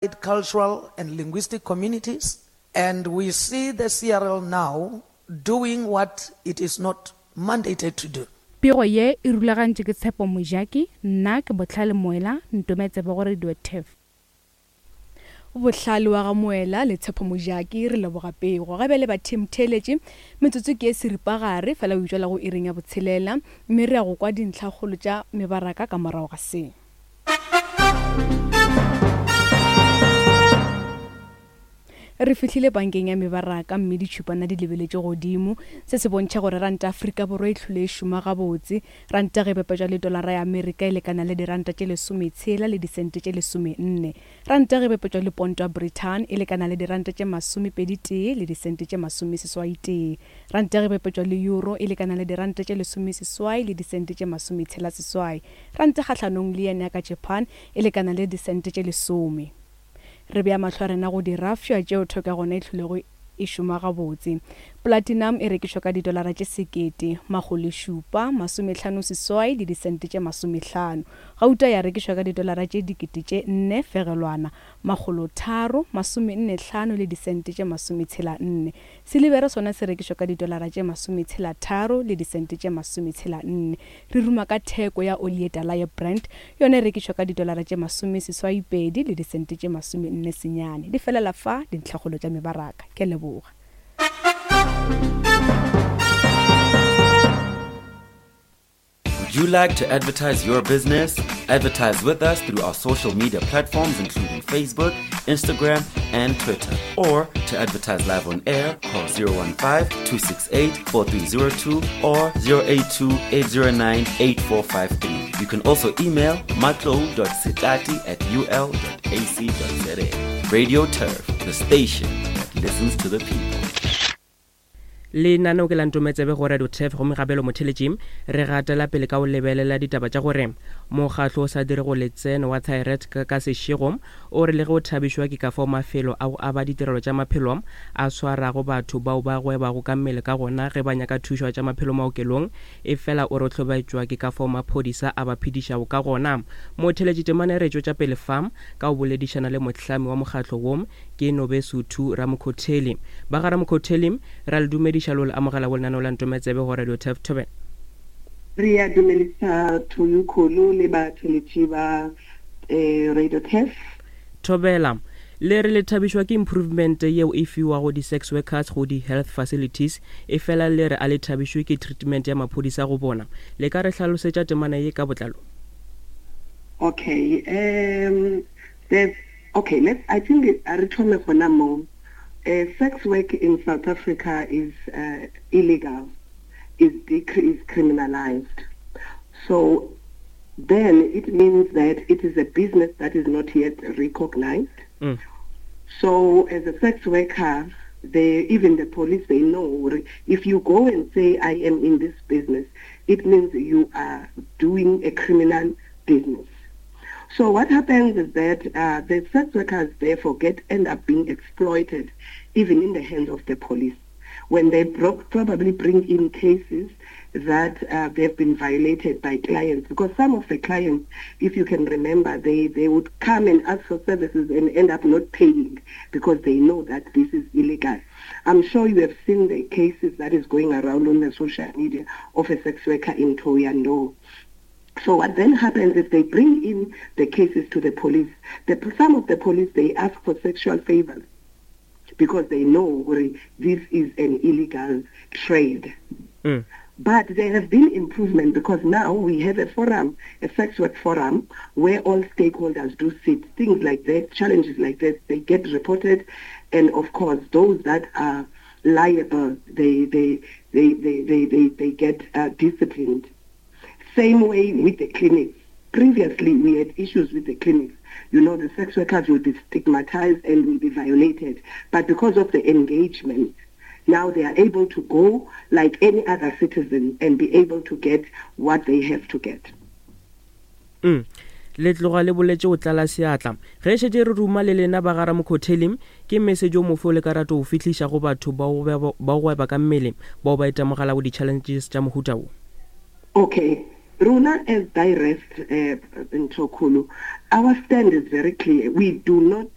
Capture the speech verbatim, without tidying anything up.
Cultural and linguistic communities, and we see the C R L now doing what it is not mandated to do. Pego ye e rulagantšwe ke Tshepo Mojaki, nna ke Bohlale Moela, ntome tsebe go Radio Turf. Bohlale wa ga Moela le Tshepo Mojaki, re leboga pego. Ga bjale ba team theeletše, metsotso ke e seripagare fela o itšwela go iring ya botshelela, mme re ya go kwa dintlhakgolo tša mebaraka ka morago ga se. Re fihlile bankeng ya mebaraka mme ditšhupana di lebeletše godimo. Se se bontšha gore ranta Afrika Borwa e hlole e šoma gabotse. Ranta ge bapetšwa le dolara ya Amerika e lekana le diranta tše lesometshela le disente tše lesomenne. Ranta ge bapetšwa le ponto ya Britain e lekana le diranta tše masomepedi tee le disente tše masomeseswai tee. Ranta ge bapetšwa le euro e lekana le diranta tše lesomeseswai le disente tše masometshela seswai. Ranta kgahlanong le yen ya ka Japan e lekana le disente tše lesome. Re bea mahlo a rena go dirafša tšeo theko ya gona e hlolego e šoma gabotse. Platinum e rekišwa ka didolara tše sekete, makgolo šupa, masomehlano seswai le disente tše masomehlano. Gauta ya rekišwa ka didolara tše dikete tše nne fegelwana, makgolo tharo, masomenne hlano le disente tše masometshela nne. Silibere sona se rekišwa ka didolara tše masometshela tharo le disente tše masometshela nne. Re ruma ka theko ya oli ye tala ya Brent, yona e rekišwa ka didolara tše masomeseswai pedi le disente tše masomenne senyane. Di felela fa dintlhakgolo tša mebaraka. Ke a leboga. Would you like to advertise your business? Advertise with us through our social media platforms, including Facebook, Instagram, and Twitter. Or to advertise live on air, call zero one five, two six eight, four three zero two or zero eight two, eight zero nine, eight four five three. You can also email matlo dot setati at U L dot A C dot Z A. Radio Turf, the station that listens to the people. Lenaneo ke la Ntometsebe go Radio Turf, gomme gabelo motheletši re gatela pele ka go lebelela ditaba tša gore mokgatlo o sa dire go letseno wa Thyret ka, ka sešego o re le ge o thabišwa ke ka fao mafelo a go aba ditirelo tša maphelo a swarago batho bao ba gwebago ka mmele ka gona ge ba nyaka thušo ya tša maphelo maokelong, e fela o re o hlobaetšwa ke ka fao maphodisa a ba phedišago ka gona. Motheletši, temana e re tšwetša pele fa ka go boledišana le mohlami wa mokgatlo wo, ke Nobesuthu Ramokhotheli. Ba ga Ramokhotheli, ra le dumediša le o le amogela go lenaneo la Ntometsebe go Radio Turf. Thobela. Re a dumedisa Thoyukholo le batheletši ba eh, Radio Turf. Thobela. Le re le thabišwa ke improvement yeo e fiwago di-sex workers go di-health facilities, e fela le re a le thabišwe ke treatment ya maphodisa go bona. Le ka re hlalosetša temana ye ka botlalo? Okay, um there's okay, let's I think it- a re thome gona mo. Uh, sex work in South Africa is uh, illegal, is decre- is criminalized. So then it means that it is a business that is not yet recognized. mm. So as a sex worker, they, even the police, they know if you go and say, "I am in this business," it means you are doing a criminal business. So what happens is that uh, the sex workers therefore get end up being exploited, even in the hands of the police, when they bro- probably bring in cases that uh, they've been violated by clients. Because some of the clients, if you can remember, they, they would come and ask for services and end up not paying because they know that this is illegal. I'm sure you have seen the cases that is going around on the social media of a sex worker in Thohoyandou. So what then happens is they bring in the cases to the police. The, some of the police, they ask for sexual favors because they know this is an illegal trade. Mm. But there have been improvement because now we have a forum, a sex work forum, where all stakeholders do sit. Things like that, challenges like that, they get reported. And of course, those that are liable, they, they, they, they, they, they, they get uh, disciplined. Same way with the clinics. Previously, we had issues with the clinics. You know, the sex workers will be stigmatized and will be violated. But because of the engagement, now they are able to go like any other citizen and be able to get what they have to get. mm. Le tloga le boletše go tlala seatla ge šetše re ruma le lena ba ga Ramokhotheli. Ke message o mofe o le ka rata go fihliša go batho ba go gweba ka mmele bao ba itemogelago di-challenges tša mohuta wo? Okay. Rona as DiRest uh, Ntokholo, our stand is very clear. We do not